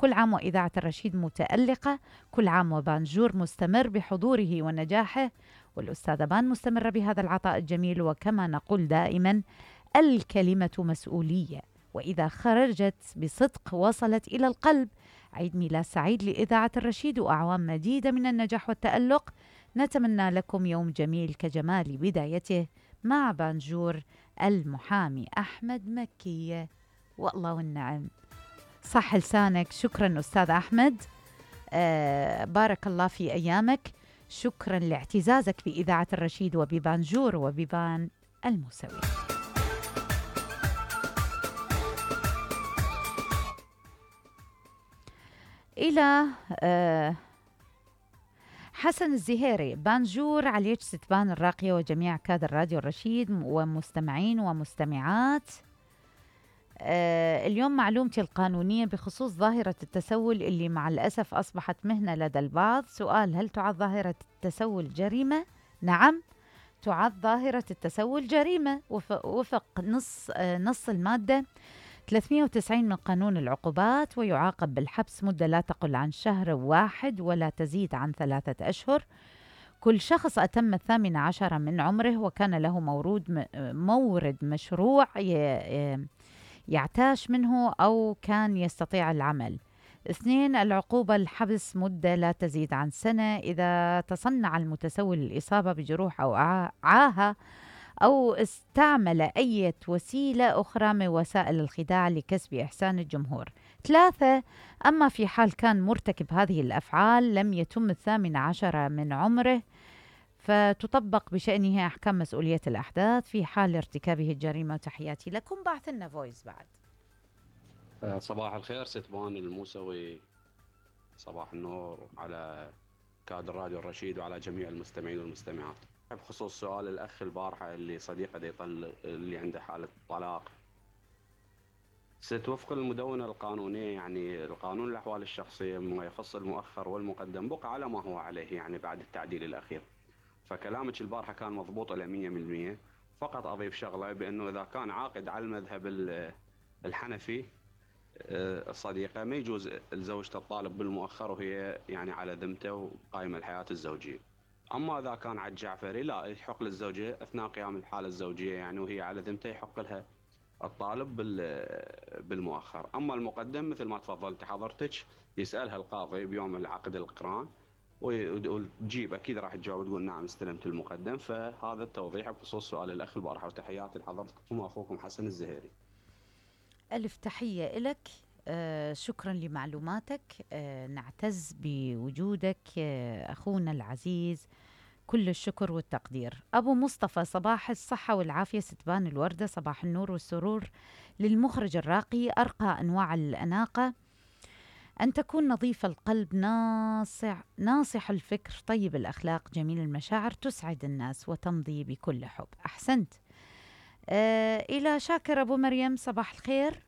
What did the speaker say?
كل عام وإذاعة الرشيد متألقة، كل عام وبانجور مستمر بحضوره ونجاحه، والأستاذة بان مستمرة بهذا العطاء الجميل. وكما نقول دائما الكلمة مسؤولية، وإذا خرجت بصدق وصلت إلى القلب. عيد ميلاد سعيد لإذاعة الرشيد وأعوام مديدة من النجاح والتألق. نتمنى لكم يوم جميل كجمال بدايته مع بانجور المحامي أحمد مكية. والله والنعم، صح لسانك. شكرا أستاذ أحمد، بارك الله في أيامك. شكرا لاعتزازك بإذاعة الرشيد وببانجور وببان الموسوي. إلى حسن الزهيري، بانجور عليك ستبان الراقية وجميع كادر راديو الرشيد ومستمعين ومستمعات. اليوم معلومتي القانونية بخصوص ظاهرة التسول اللي مع الأسف أصبحت مهنة لدى البعض. سؤال: هل تعد ظاهرة التسول جريمة؟ نعم، تعد ظاهرة التسول جريمة وفق نص المادة 390 من قانون العقوبات، ويعاقب بالحبس مدة لا تقل عن شهر واحد ولا تزيد عن 3 أشهر. كل شخص أتم 18 من عمره وكان له مورد مشروع يعتاش منه أو كان يستطيع العمل. 2، العقوبة الحبس مدة لا تزيد عن سنة إذا تصنع المتسول الإصابة بجروح أو عاهة أو استعمل أي وسيلة أخرى من وسائل الخداع لكسب إحسان الجمهور. 3، أما في حال كان مرتكب هذه الأفعال لم يتم 18 من عمره فتطبق بشأنه أحكام مسؤولية الأحداث في حال ارتكابه الجريمة. تحياتي لكم. بعث لنا فويس بعد. صباح الخير ستبان الموسوي، صباح النور على كادر راديو الرشيد وعلى جميع المستمعين والمستمعات. بخصوص سؤال الأخ البارحة اللي صديقه اللي عنده حالة طلاق، وفق المدونة القانونية يعني القانون الأحوال الشخصية ما يخص المؤخر والمقدم بقى على ما هو عليه يعني بعد التعديل الأخير. فكلامك البارحة كان مضبوط إلى 100%. فقط أضيف شغلة بأنه إذا كان عاقد على المذهب الحنفي الصديقة ما يجوز زوجته الطالب بالمؤخر وهي يعني على ذمته وقائمة الحياة الزوجية. أما إذا كان على الجعفري لا، يحق للزوجة أثناء قيام الحالة الزوجية يعني وهي على ذمته يحق لها الطالب بالمؤخر. أما المقدم مثل ما تفضلت حضرتك يسألها القاضي بيوم العقد القران وتجيب أكيد راح تجاوب تقول نعم استلمت المقدم. فهذا التوضيح بخصوص سؤال الأخ البارحة، وتحياتي لحضرتكم وأخوكم حسن الزهيري. ألف تحية لك. شكرا لمعلوماتك. نعتز بوجودك أخونا العزيز، كل الشكر والتقدير. أبو مصطفى، صباح الصحة والعافية ستبان الوردة، صباح النور والسرور للمخرج الراقي، أرقى أنواع الأناقة، أن تكون نظيف القلب، ناصح الفكر، طيب الأخلاق، جميل المشاعر، تسعد الناس وتمضي بكل حب. أحسنت. إلى شاكر أبو مريم، صباح الخير.